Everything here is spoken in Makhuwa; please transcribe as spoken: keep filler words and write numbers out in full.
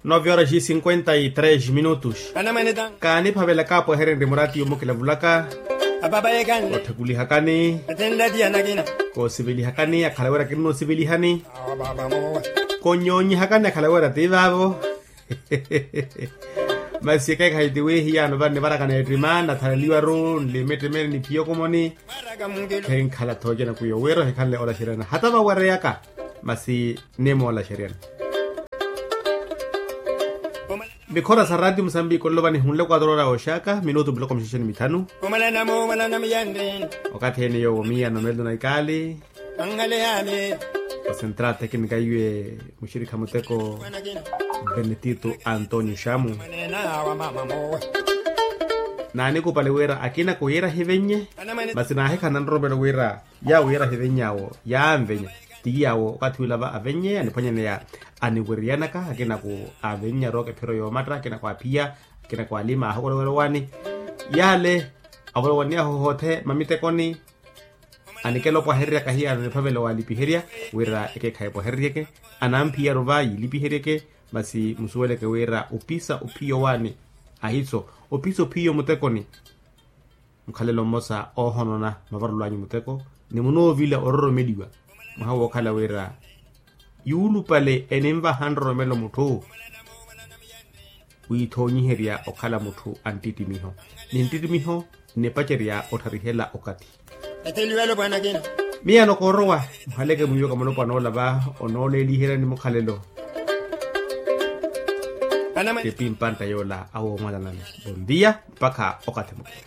Nove horas e cinquenta e três minutos. Kaaniphavela kaapohererye murati yomukila vulaka. Kotthekulihakani. Koosivelihakani akhala wira kinnoosivelihani. Konnyonyihakani akhala wira ti vaavo. Masi ekeekhayi ti wi hiyaano vanni varakana ettima nathalaliwaru nlimittimeni niphiya okomoni. Khenkhala thoocena kwiyo wira ohikhanle olaxeryana hata vawereyaka. Masi nimoolaxeryana. Mikhora sa ratio musambiki ololova nihunle quatro ora oxaka minutu miloko mixaxeni mithanu. Okathi ene yoowo miya nomelo na ikaali. Osentrata ekinika iwe muxirikha muteko. Benetito antonio xamu. Naanikupale wira akina kuyiira hivennye. Masi naahikhana nroromelo wira yaawo yiira hivenny'awo yaanvenya. Ti yaawo okathi wila va avenny'eya aniphwanyaneya. Aniwiriyanaka akina ku avennya rooka ephiro yoomatta akina ku aphiya. Akina ku alima ahakolowelo waani. Yaale avolowaniyahu hoothe mamitekoni. Anikela opwahereryaka hiyaano niphavela walipiherya wira ekeekhayi epwahereryeke. Anamphiyaru va yilipiheryeke. Masi musuweleke wira opisa ophiyo waani. Ahiso opisa ophiyo mutekoni. Mukhalelo mmosa oohonona mavarolo anyu muteko ni munoovila ororomeliwa. Mwaha wookhala wira yuulupale eninvaha nroromelo mutthu. Wiithoonyiherya okhala mutthu a nttittimiho ni nttittimiho nnipacerya ottarihela okathi. Miyaano koorowa muhaleke mwiiwaka mulopwana ola va onooleeliherya ni mukhalelo. Tipi mpantta yoola awoomwalanani. Bondia mpakha okathi mukhala.